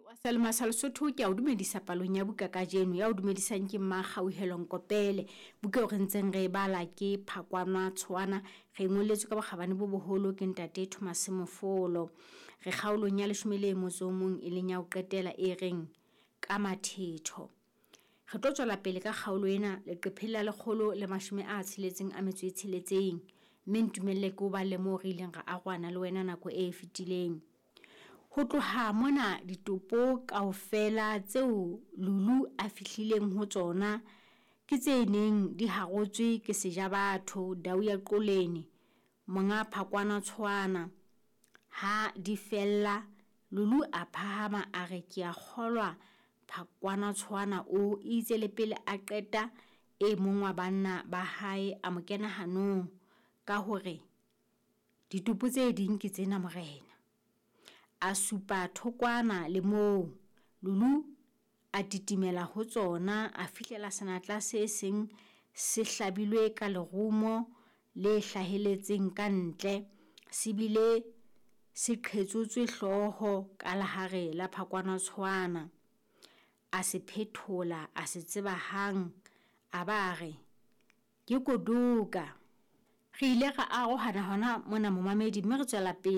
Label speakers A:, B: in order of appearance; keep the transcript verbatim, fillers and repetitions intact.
A: Wa Selema sa Lesotho, ke a o dumedisa palong ya buka kajeno. Ya o dumedisang ke Mmakgauhelo Nkopele. Buka eo re ntseng re e bala ke Phakwana Tshoana, re e ngolletswe ka bokgabane bo boholo ke ntate Thomas Mofolo. Re kgaolong ya leshome le motso o mong, e leng ya ho qetela, e reng ka mathetho. Re tlo tswela pele ka kgaolo ena leqepheng la lekgolo le mashome a tsheletseng a metso e tsheletseng, mme ntumelle ke o balle moo re ileng ra arohana le wena nako e fetileng. Ho tloha mona ditopo kaofela tseo Lulu a fihlileng ho tsona ke tse neng di harotswe ke Sejabatho Dau ya Qoleni, monga Phakwana Tshoana. Ha di fella, Lulu a phahama a re, ke a kgolwa Phakwana Tshoana o itse le pele a qeta, e mong wa banna ba hae a mo kena hanong ka hore ditopo tse ding ke tsena morena. A supa thokwana le moo Lulu a titimela ho tsona, a fihlela senatla se seng se hlabilwe ka lerumo le hlaheletseng ka ntle, se bile se qhetsotswe hlooho ka lehare la Phakwana Tshoana. A se phethola, a se tseba hang, a ba a re ke Koduka. Re ile ra arohana hona mona momamedi, mme re tswela pele.